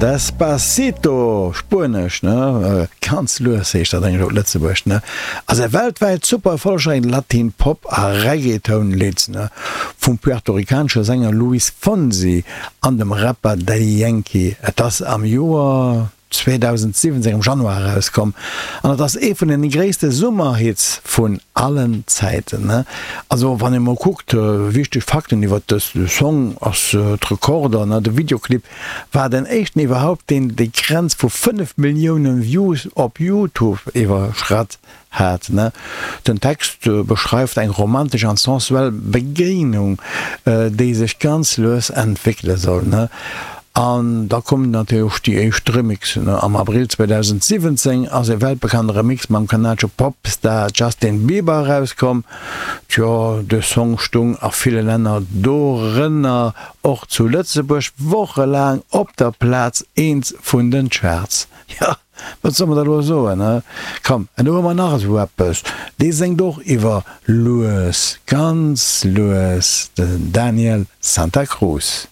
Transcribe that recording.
Despacito, spuenesch, ne? Ganz lues heescht dat eigentlech op Lëtzebuergesch, ne? Ass e weltwäit super erfollegräichen Latin Pop a Reggaeton-Lidd, ne? Vum puertorikanesche Sänger Luis Fonsi an dem Rapper Daddy Yankee. Et ass am Joer 2017 am Januar erauskomm an et ass ee vun den gréisste Summerhits vun allen Zäiten. Also wann ee mol kuckt, wichteg Fakten iwwert dës Song ass d'Rekorder, de Videoclip war den éischten iwwerhaupt deen déi Grenz vu 5 Millioune Views op Youtube iwwerschratt hat. Den Text beschreift eng romantesch an sensuell Begéinung, déi sech ganz lues entwéckele soll. An da kommen natierlech déi éischt Remixen. Am Abril 2017 ass e weltbekannte Remix mam kanadesche Popstar Justin Bieber erauskomm. Tjo, de Song stung a ville Länner, dorënner och zu Lëtzebuerg, wochelaang op der Plaz eent vun den Charts. Jo, Wat soll mer da lo soen, he? Komm, en do hu mer nach esou eppes, dee séngt och iwwer lues, ganz lues, den Daniel Santa Cruz.